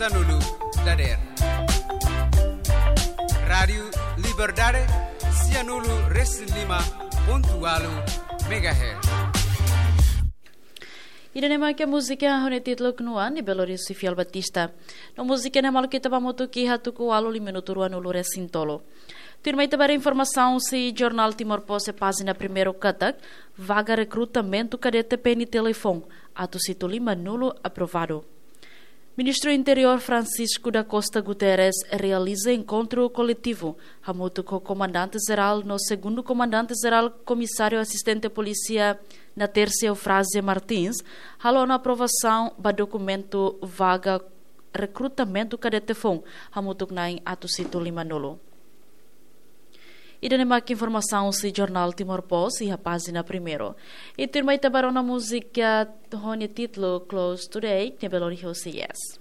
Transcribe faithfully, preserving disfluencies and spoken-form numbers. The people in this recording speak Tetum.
Sianulu dader. Rádiu Liberdade, sianulu resin lima pontu ualu megahertz. Ida-ne'e mak múzika ho nia títulu Knuan, ne'ebé lori husi Fiel Batista. No múzika ne'e maluk ita ba hamutuk iha tuku ualu lima minutu ruanulu resin tolu. Tuirmai ita ba informasaun husi Jornál Timor Post iha pájina primeiru katak, vaga rekrutamentu kadete PNTL Aifon, atus hitu lima nulu aprovadu. Ministru Interiór Francisco da Costa Guterres realiza enkontru koletivu hamutuk ho Komandante Jerál no Segundu Komandante Jerál Komisáriu Asistente Polísia Natércia Eufrásia Martins, halo ona aprovasaun ba dokumentu vaga rekrutamentu kadete foun hamutuk na'in atus hitu lima nulu. Ida-ne'e mak informasaun husi Jornál Timor Post iha pájina primeiru. I tuirmai ita ba rona múzika ho nia títulu Close Today, ne'ebé lori husi Yes.